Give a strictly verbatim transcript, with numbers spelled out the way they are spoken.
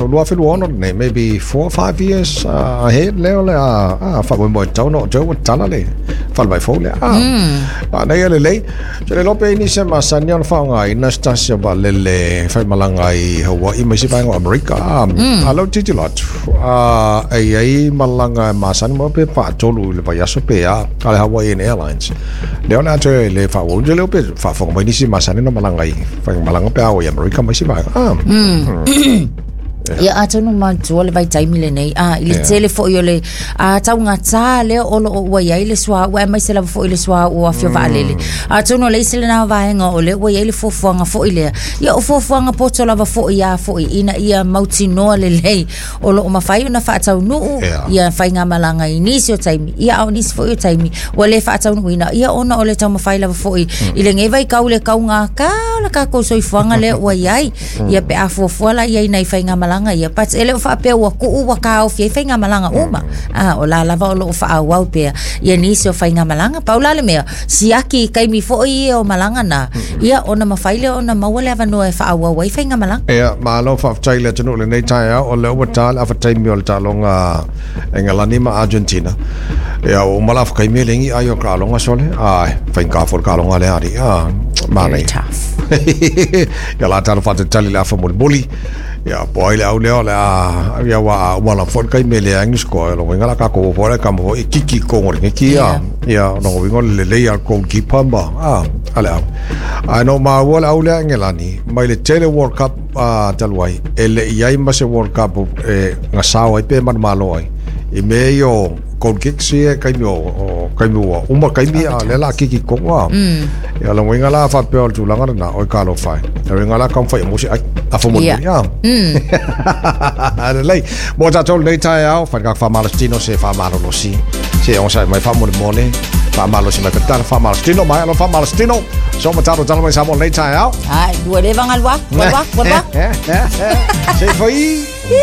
Lua afe lua ono lenei, maybe four or five years uh, ahead lea o le a a faamoemoe tatau ona oo atu ai ua tatala le falemai fou lea. Ah, manaia lelei. Ou te le iloa pe i ai nisi e masani ona faaaogaina se tasi o vaalele e faimalaga ai i Hawaii ma isi vaega o Amerika. Ah, a o lea ou te tilotilo atu, ah, e i ai malaga e masani mo pe faatolu i le vaiaso pe a, a le Hawaiian Airlines. Lea o le a toe le faaauauina. Ou te le iloa pe faafofoga mai nisi e masani ona malaga i faigamalaga pe a o i Amerika ma isi vaega. Ah. Ia atonu manatua le vaitaimi lenei a i le tele foi o le a taugatā lea o loo ua iai le suauu aemaise lava foi le suauu o afio vaalele. Atonu o le isi lena vaega o lea ua iai le fuafuaga foi lea. Ia o fuafuaga poto lava foi a foi ina ia mautinoa lelei o loo mafai ona faataunuu ia faigamalaga i nisi o taimi, ia a o nisi foi o taimi ua le faataunuuina, ia ona o le taumafai lava foi i lenei vaitau le taugata o le tatou soifuaga lea ua iai. Ia pe a fuafua la iai nai faigamalaga ia, but e le o faapea ua tuu ua taofi ai faigamalaga uma. A o la lava o loo faaauau pea ia nisi o faigamalaga. Pau la le mea, siaki i taimi foi ia o malaga na, ia ona mafai lea ona maua le avanoa e faaauau ai faigamalaga. Ia, malo faafetai i le atunuu i lenei taeao, o lea ua ta le afa taimi o le taaloga a Engelani ma Argentina. Ia, ua uma le afa taimi e leai ni ai o le taaloga sole. Ai, faigata foi le taaloga lea alii. Ah, Very manaia. tough. Ia la talo faatalitali i le afa mulimuli. Ia, po o ai le au lea o le a, ia aua a uma lava foi le taimi e leai ni score, lona uiga o le a tatou o foi le tama foi e kiki i totonu o le neti, Yeah. ia, lona uiga o le lelei lava o le goalkeeper ma, a, a le au. Ae na ou maua le au lea a Engelani, mai le tele o World Cup a, talu ai, e le i ai ma se World Cup e gasao ai pe manumalo ai i mea ia o goal kicks ia i taimi o, o taimi ua uma le taimi a o lea o le a kiki i totonu a. Ia, o lona uiga la faapea o le tulaga lena, oi talofa e. O lona uiga la taumafai ia maua se ai. Afa mulimuli Ia. a. Lelei. Mo tatou lenei taeao, fai le tatou faamalositino se faamalolosi. Se onosai mai faamolemole, faamalosi mai ka tala, faamalositino mai alo faamalositino. So ma tatou tala mai Samoa lenei taeao. Ai, ua leva galu atu, alu atu, alu atu. Se fai.